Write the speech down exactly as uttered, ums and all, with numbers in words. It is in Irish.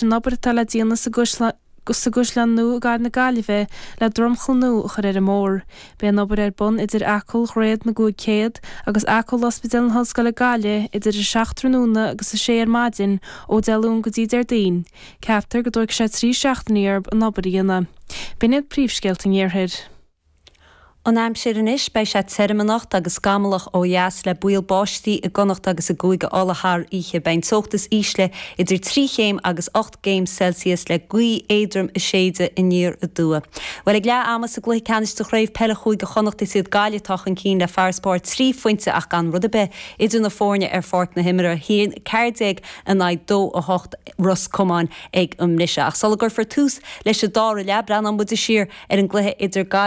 an obair atá le déanamh sa sa gCaisleán Nua i gcathair na Gaillimhe le dromchla nua a chur ar an mbóthar. Beidh an obair ar bun idir acomhal Dhroichead na gCúig Céad agus acomhal Ospidéal na hOllscoile Gaillimh idir a seacht tráthnóna agus a sé ar maidin ó Dé Luain go dtí Déardaoin. Ceaptar go dtógfaidh sé trí seachtainí orthu an obair a dhéanamh. B'in iad príomhscéalta an iarthair. An aimsir anois beidh sé tirim anocht agus scamallach ó dheas le baol báistí i gConnacht agus i gCúige Uladh thar oíche. Beidh an teocht is ísle idir trí chéim agus ocht gcéim Celsius le gaoth éadrom ag séideadh aniar aduaidh. Well ag leath ama sa gcluiche ceannais de chraobh peile Chúige Chonnacht is iad Gaillimh atá chun cinn le farasbarr trí phointe ach gan rud ar bith idir na foirne ar pháirc na himeartha haon ceathair déag in aghaidh dó a hocht Ros Comáin ag an mbriseadh. Ach sula gcuirfear tús leis an dara leath breathnóidh muid siar ar an gcluiche idir Gaillimh